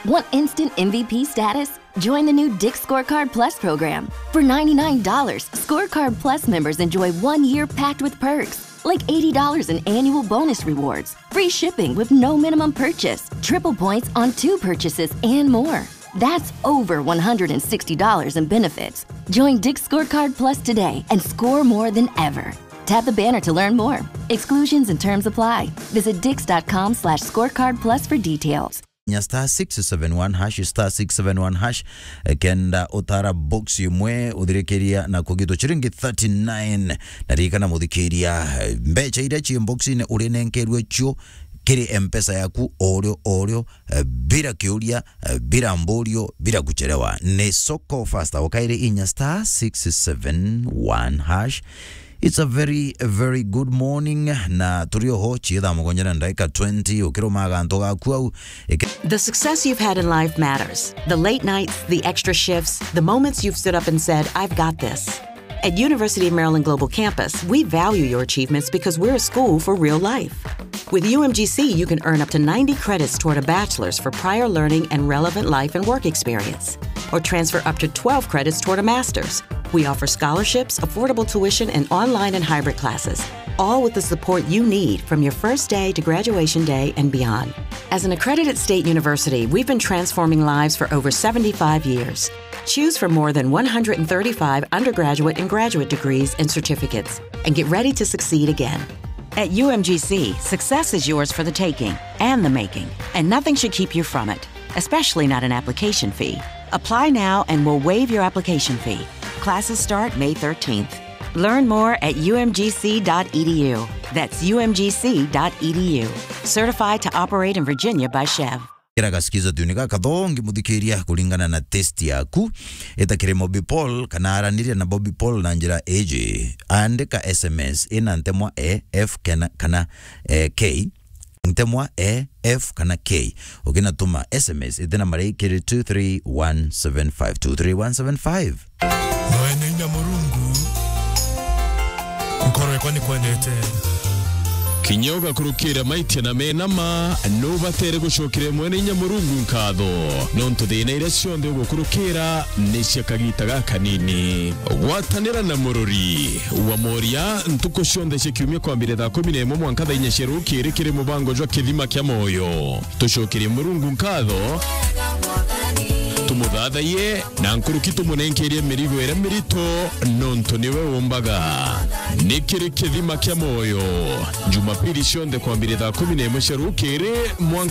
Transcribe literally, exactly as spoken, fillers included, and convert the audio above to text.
Want instant M V P status? Join the new Dick's Scorecard Plus program. For ninety-nine dollars, Scorecard Plus members enjoy one year packed with perks, like eighty dollars in annual bonus rewards, free shipping with no minimum purchase, triple points on two purchases, and more. That's over one hundred sixty dollars in benefits. Join Dick's Scorecard Plus today and score more than ever. Tap the banner to learn more. Exclusions and terms apply. Visit dicks.com slash scorecard plus for details. Nya star six seven one hash, star six seven one hash, eh, kenda utara box imwe uthirikiria na kugitwa chiringi thirty-nine. Na ririkana muthikiria, eh, mbecha iria ci box-ini urinenkerwe cio kiri M-Pesa yaku orio orio, eh, bila kiuria, eh, bila mburio, bila kuchelewa. Ni Soko Fasta, ukairi inya star six seven one hash. It's a very, a very good morning, na turi oho, chie thaa mugwanja na ndagika twenty, ukiruma gantu gaku au, eke- The success you've had in life matters. The late nights, the extra shifts, the moments you've stood up and said, "I've got this." At University of Maryland Global Campus, we value your achievements because we're a school for real life. With U M G C, you can earn up to ninety credits toward a bachelor's for prior learning and relevant life and work experience, or transfer up to twelve credits toward a master's. We offer scholarships, affordable tuition, and online and hybrid classes, all with the support you need from your first day to graduation day and beyond. As an accredited state university, we've been transforming lives for over seventy-five years. Choose from more than one hundred thirty-five undergraduate and graduate degrees and certificates, and get ready to succeed again. At U M G C, success is yours for the taking and the making, and nothing should keep you from it, especially not an application fee. Apply now and we'll waive your application fee. Classes start May thirteenth. Learn more at U M G C dot E D U. That's U M G C dot E D U. Certified to operate in Virginia by Chev. Kira gaskiza tuni gaka thongi muthikiria kuringana na test yaku. Ita kiri Bobby Paul kana araniria na Bobby Paul na njira iji. Andika S M S ina ntemwa E, F kana, kana, eh, K. Ntemwa E, F kana K. Ukinatuma S M S ite nambari kiri two three one seven five, two three one seven five. Mwene inya Murungu, nkoro yakwa nikwendete. Kinya ugakurukira maitia na mena ma, nubatere gucokeria Mwene inya Murungu nkatho, nontu thina iria cionthe ugukurukira ni cia kagita gakanini. Gwatanira na murori wa moria ntuku cionthe cia kiumia kwambire thaa kumi na imwe mwanka thaa inya cia rukiri kiri mubango jwa Kithima kia Moyo. Tucokerie Murungu nkatho, tumuthathaiye, na nkuruki tumunenkerie mirigo iria mirito, nontu niwe umbaga. Ni kiri Kithima kia Moyo, Jumapili cionthe kwambire thaa kumi na imwe cia rukiri mwanka